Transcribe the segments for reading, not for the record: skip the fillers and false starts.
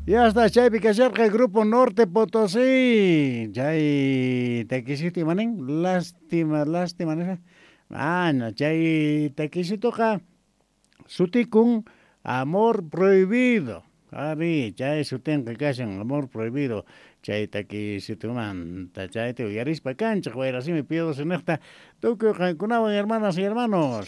Ya está, chaypi kasharqa Grupo Norte Potosí. Chay takisito imanin, lástima, lástima nispa. Mana, chay takisitoqa sutikun Amor Prohibido. Ari, chay sutinqa kashan Amor Prohibido. Chay takisitumanta, chayta uyarispa kanchej wayrasimi piedosiniqta tukuy qankunawan hermanas y hermanos.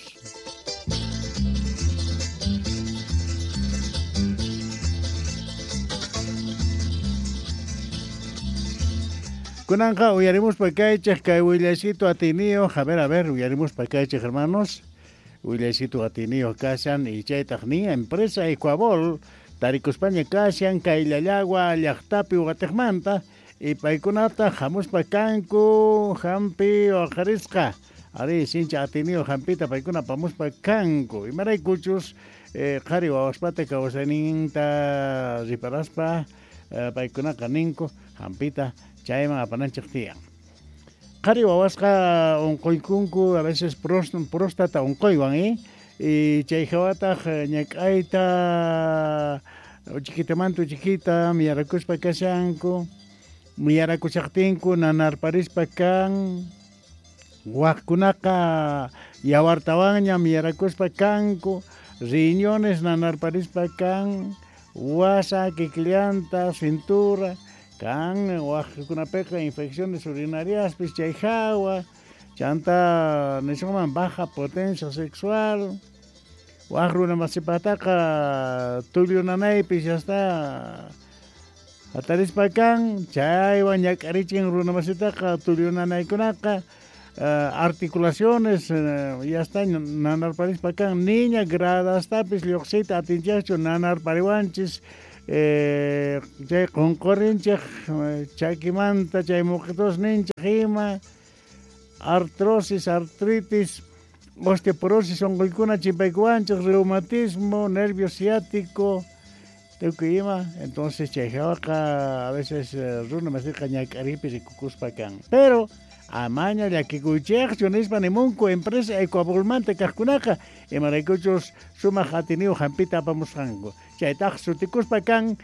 Kunanqa uyarimuspa kaychej kay willaycito atiniyo, a ver, uyarimuspa kaychej hermanos, willaycito atiniyo kashan y chaytaq ni empresa Ecuabol tarikuspaña kashan kay Llallagua llaqtapi uqatiqmanta y paykunata hamuspa kanku hampi waqarisqa, ari sincha atiniyo hampita paykuna apamuspa kanku, imaraykuchus qhari wawaspata kawsayninta riparaspa paykunaqa ninku hampita chayman apananchej tiyan. Qhari wawasqa unquykunku a veces próstata unquywan, y chay hawataq ñak'ayta uchikitamanta uchiquita miyarakuspa kashanku, miyarakushaqtinku nanarparispa kan, waqkunaqa yawartawanña miyarakuspa kanku, riñones nanarparispa kan, wasa, kikillanta, cintura, kan waqkunapiqa infecciones urinariaspis chay hawa, chanta nisunman baja potencia sexual, waq runa masipataqa tullu nanaypis ya está hatarispa kan, chaywan ñak'arichin runa masitaqa tullu nanaykunaqa, articulaciones ya está nanarparispa kan, niña gradastapis lluqsiyta atinchikchu nanarpariwanchis, chay qunqurinchik chakimanta chay muqitusninchik ima, artrosis, artritis, osteoporosis unquykuna chimpaykuwanchik, reumatismo, nervio ciático, tukuy ima. Entonces chay hawaqa a veces runa masiqa ñak'aripi rikukuspa kan. Pero amaña llakikuychikchu nispa nimunku empresa Ecuabolmanta kaqkunaqa imaraykuchus sumaq atiniyu hampita apamusqanku. Chaytaq sutikuspa kan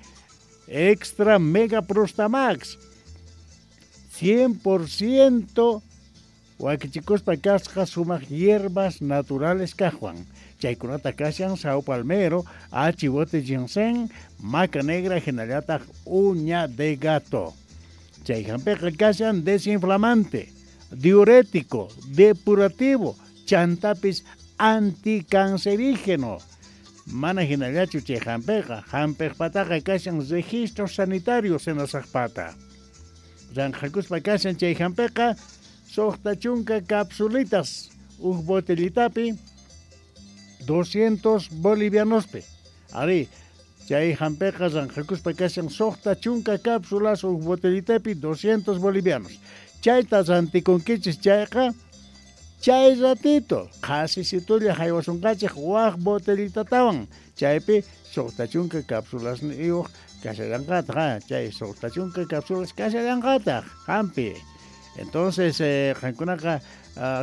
Extra Mega Prostamax 100% wakichikuspa kasqa sumaq hierbas naturales kaqwan. Chaykunata kashan sao palmero, achibote ginseng, maca negra hinallataq uña de gato. Chay hampiqa kashan desinflamante, diurético, depurativo, chantapis anticancerígeno. Mana hinallachu chay hampiqa, hampiqpataqa kashan registro sanitario senasaqpata. Ranqhakuspa kashan chay hampiqa suqta chunka capsulitas, uj botellitapi 200 bolivianospi. Ari, chay hampiqa ranqhakuspa kashan suqta chunka cápsulas uj botellitapi 200 bolivianos. Chayta rantikunkichis chayqa chay ratito qhasisitulla haywasunqachik waq botellitatawan. Chaypi suqta chunka cápsulas niyuq kashallanqataq, chay suqta chunka cápsulas kashallanqataq hampi. Entonces, qankunaqa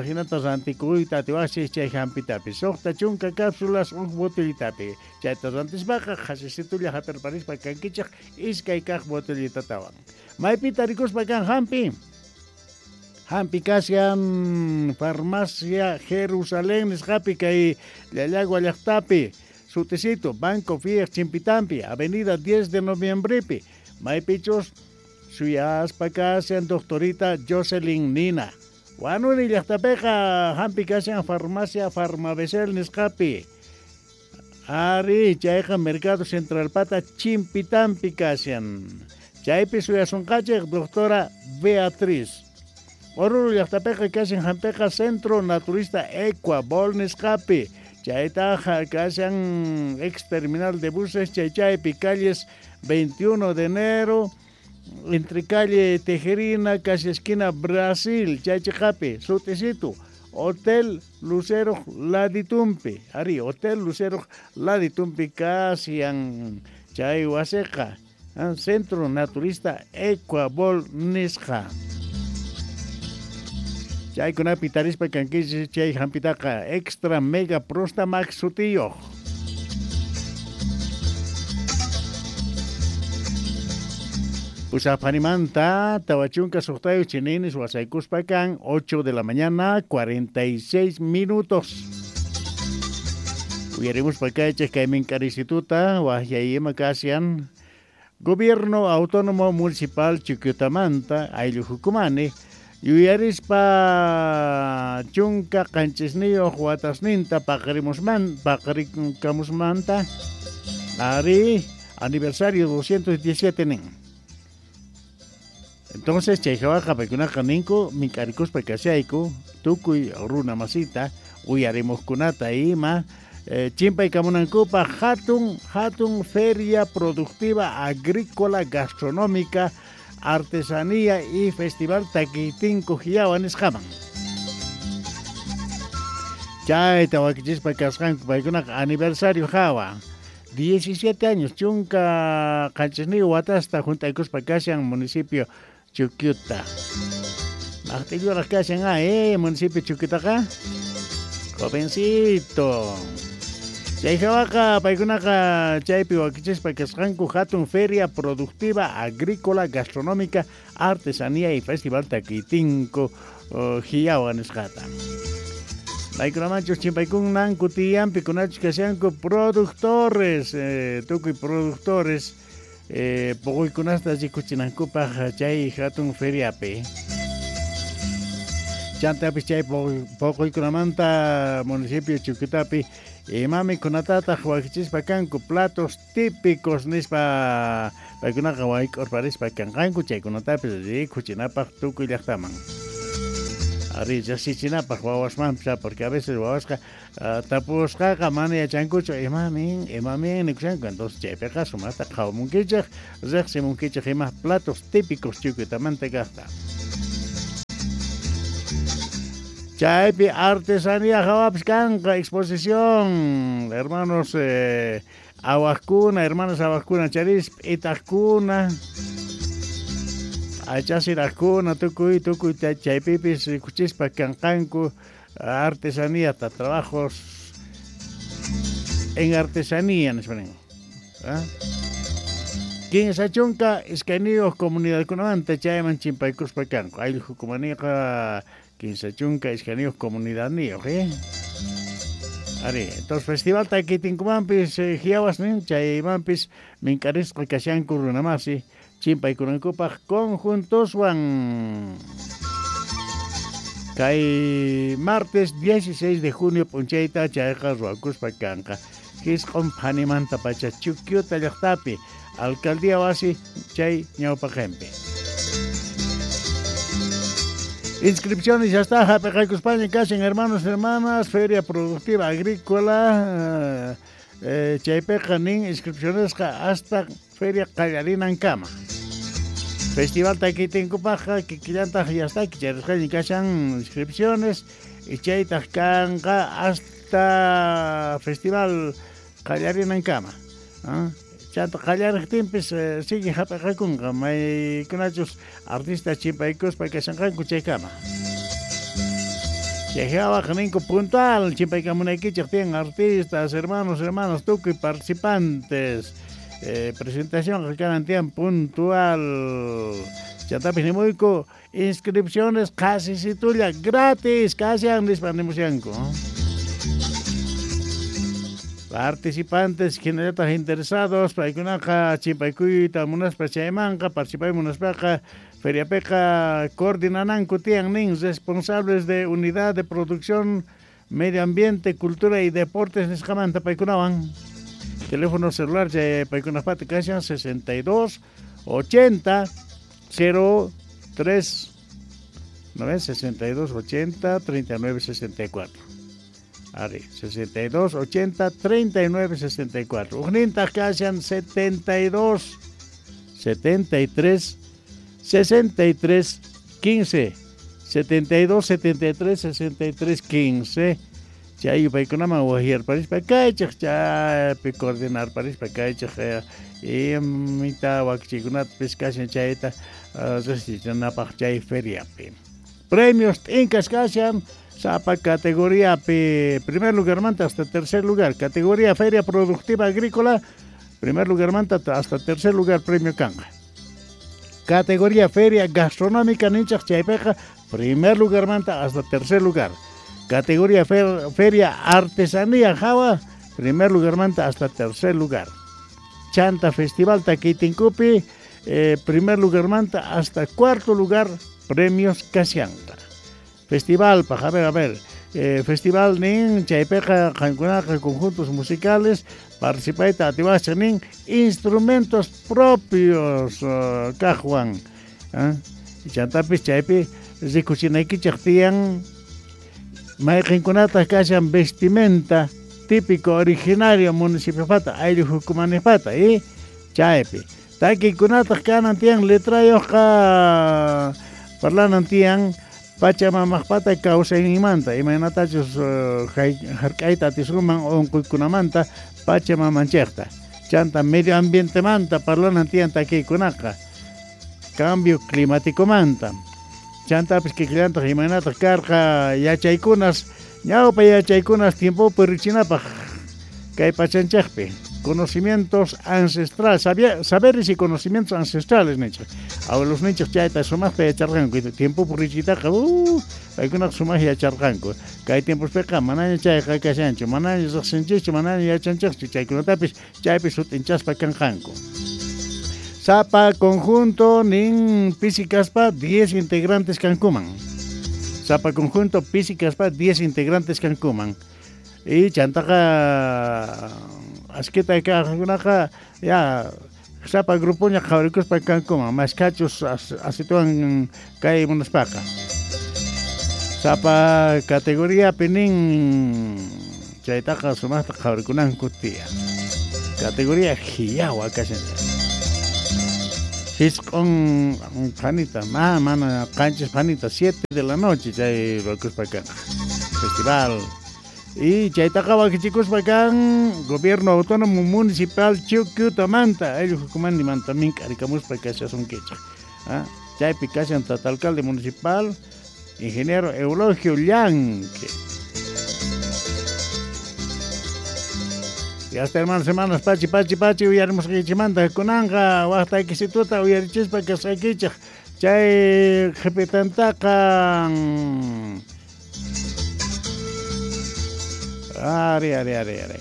hinata rantikuyta atiwaqchis chay hampitapi suqta chunka cápsulas uj botellitapi. Chayta rantispaqa qhasisitulla hapirparispa kankichik iskay kaq botellitatawan. Maypi tarikuspa kan hampi? Hampi kashan farmacia Jerusalén nisqapi kay Llallagua llaqtapi, sutisito Banco Fiej Chimpitampi, Avenida 10 de Noviembrepi. Maypichus suyaspa kashan doctorita Jocelyn Nina. Wanuri llaqtapiqa hampi kashan farmacia Farmabesel nisqapi. Ari, chayqa Mercado Central pata Chimpitampi kashan. Chaypi suyasunqachik doctora Beatriz. Oruro llaqtapiqa kashan hampiqa Centro Naturista Ecuabol nisqapi. Chaytaqa kashan ex terminal de buses chaychaypi calles 21 de enero, entre calle Tejerina, casi esquina Brasil, chaychiqapi, sutisito, Hotel Lucero Laditumpi. Ari, Hotel Lucero Laditumpi kashan chay wasiqa, Centro Naturista Ecuabol nisqa. Chaykunapi tarispa kankichis chay hampitaqa Extra Mega Prostamax sutiyuq. Pusapanimanta, Tawachunca Sohtayo Chinines, Huasaycuspacan, 8 de la mañana, 46 minutos. Uyaremos Pacayches, Caimen Carisituta, Huajayema Casian, Gobierno Autónomo Municipal Chuquiutamanta, Aylujucumani, Yuyarispa Chunka Qanchisniyo Huatasninta, Paqarimusman, Paqaricamusmanta, Ari, aniversario 217 nin. Entonces, chayjawaqa paykunaqa ninku mink'arikuspa kashayku tukuy runa masita uyarimuqkunata ima chimpaykamunankupaq hatun feria productiva agrícola gastronómica artesanía y festival Takiytinku Hiyawa nisqaman. Chayta wakichispa kasqanku paykunaqa aniversario hawa 17 años chunka qanchisniyu watasta juntaykuspa kashan municipio Chuquiuta. Maqtilluraq kashan municipio Chuquiutaqa jovencito. Chayjawaqa paykunaqa chaypi wakichispa kasqanku hatun feria productiva agrícola gastronómica artesanía y festival Takiytinku Hiyawa nisqata. Paykunamanchus chimpaykunanku tiyanpi kunachus kashanku productores, tukuy productores poquykunasta rikuchinankupaq chay hatun feriapi. Chantapis chay poquykunamanta municipio Chuquiutapi imami kunatataq wakichispa kanku platos típicos nispa paykunaqa wayk'urparispa kanqanku chaykunatapis rikuchinapaq tukuy llaqtaman. Ari yachachinapaq wawasmanpis porque a veces wawasqa tapusqaqa mana yachankuchu imamin nikushanku entonces chaypiqa sumaqta qhawamunkichej riqsimunkichej ima platos típicos Chuquiutamanta kaqta. Chaypi artesanía hawapis kanqa exposición hermanos awaqkuna hermanas awaqkuna charispa itaqkuna achasiraqkuna tukuy chaypipis rikuchispa kanqanku artesanía trabajos en artesanía nispa nin. Kinsa chunka iskayniyuq comunidadkunamanta chayman chimpaykuspa kanku ayllujukumaniqa kinsa chunka iskayniyuq comunidadniyuq Ari, entonces festival Takiytinkumanpis hiyawas nin chaymanpis mink'arisqa kashanku runamasi chimpaykunankupaq conjuntoswan. Kay martes 16 de junio p'unchayta chayqa ruwakuspa kanqa Jisq'un phanimanta pacha Chuquiuta llaqtapi alcaldía wasi chay ñawpaqinpi. Inscripciones ya está, hap'iqaykuspaña kashan hermanos hermanas, Feria Productiva Agrícola, chaypiqa nin inscripcionesqa hasta Feria qallarinankama. Festival Takiytinkupaqqa kikillantaq ya está, kicharisqaña kashan inscripciones y chaytaq kanqa hasta festival qallarinankama. Chanta qallariqtinpis sigue hap'iqakunqa maykunachus artista chimpaykuspa kashanqanku chaykama. Chayjawaq ninku puntual chimpaykamunaykichej tiyan artistas, hermanos, hermanas, tukuy participantes. Presentación kanan tiyan puntual. Chantapis nimuyku inscripciones qasisitulla gratis kashan nispa nimushanku. Participantes hinallataq interesados paykunaqa chimpaykuyta munaspa chaymanqa participay munaspaqa feriapiqa coordinananku tiyan nin responsables de unidad de producción medio ambiente cultura y deportes nisqamanta paykunawan. Teléfono celular chay paykunapata kashan 62 80 03 ¿no ves? 62 80 39 64. Ari, 62 80 39 64. Ujnintaq kashan 72 73 63 15. 72 73 63 15. Chay paykunaman wajyarparispa kaychej chaypi coordinarparispa kaychej imita wakichikunatapis kashan chayta riqsichinapaq chay feriapi. Premios t'inkas kashan sapa categoría primer lugar manta hasta tercer lugar, categoría Feria Productiva Agrícola, primer lugar manta hasta tercer lugar premio kanga. Categoría Feria Gastronómica ninchaj chaypiqa primer lugarmanta hasta tercer lugar. Categoría Feria Artesanía jawa primer lugarmanta hasta tercer lugar. Chanta Festival Takitinkupi primer lugarmanta hasta cuarto lugar premios kashanqa. Festival pa, a ver, festival nin chaypiqa qankunaqa conjuntos musicales participayta atiwascha nin instrumentos propios kaqwan. Chantapis chaypi rikuchinaykichej tiyan mayqinkunataq kashan vestimenta típico originario municipiopata ayllu hukumanipata y chaypi takikunataq kanan tiyan letrayuqqa parlanan tiyan Pachamamaqpata kawsayninmanta imaynatachus hark'ayta atisunman unquykunamanta pachamamanchikta chanta medio ambientemanta parlanan tiyan takiykunaqa cambio climáticomanta chantapis kikillantaq imaynataq karqa yachaykunas ñawpa yachaykunas tiempopi richinapaq kay pachanchikpi conocimientos ancestrales, saberes y conocimientos ancestrales ninchik. Abuelos ninchik chayta sumaqta yacharqanku, tiempopi richitaqa paykunaqa sumaq yacharqanku. Kay tiempospiqa manaña chayqa kashanchu, manaña riqsinchikchu, manaña yachanchikchu, chaykunatapis chaypi sut'inchaspa kanqanku. Sapa conjunto nin pisi kaspa 10 integrantes kankuman. Sapa conjunto pisi kaspa 10 integrantes kankuman. Y chantaqa askita kaqkunaqa ya sapa grupoña qhawarikuspa kankuman mashkhachus asituwan kay munaspaqa. Sapa categoriapi nin chaytaqa sumaqta qhawarikunanku tiyan. Categoría hiyawa kashan. Hisq'un phanita, mana qanchis phanita, 7 de la noche chay ruwakuspa kanqa. Festival. Y chaytaqa wakichikuspa kan Gobierno Autónomo Municipal Chuquiutamanta, ayllu hukumanimanta mink'arikamuspa kashasunkichik. Chaypi kashan tata alcalde municipal, ingeniero Eulogio Llanque. Y hasta hermanos, hermanas, pachi, pachi, pachi, uyarimusqaykichikmanta kunanqa waqtaykisituta uyarichispa kasqaykichik. Chay qhipitantaqa Ari, ari, ari, ari.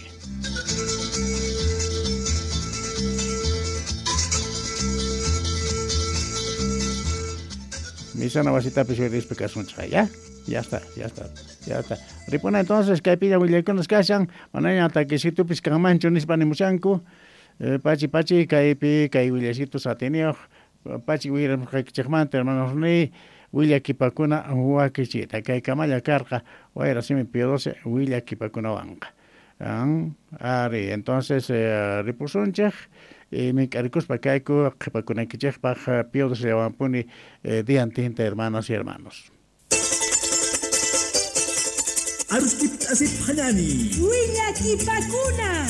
Misana wasitapis uyarispa kasunchik, ¿ya? Ya está, ya está, ya está. Ripuna entonces, kaypiña willaykunas kashan, manaña takisitupis kanmanchu nispa nimushanku. Pachi, pachi, kaypi, kay willaysitus atiniyuq, pachi uyarimusqaykichikmanta, hermanos ni, willakipakuna wakichita. Kay kamalla karqa, wayra simi Pío 12 willakipakunawanqa. Ari, entonces ripusunchik, mink'arikuspa kayku qhipakunaykichikpaq Pío 12 llawanpuni diantinta, hermanas y hermanos. Arustip asip hanani. Willakipakuna.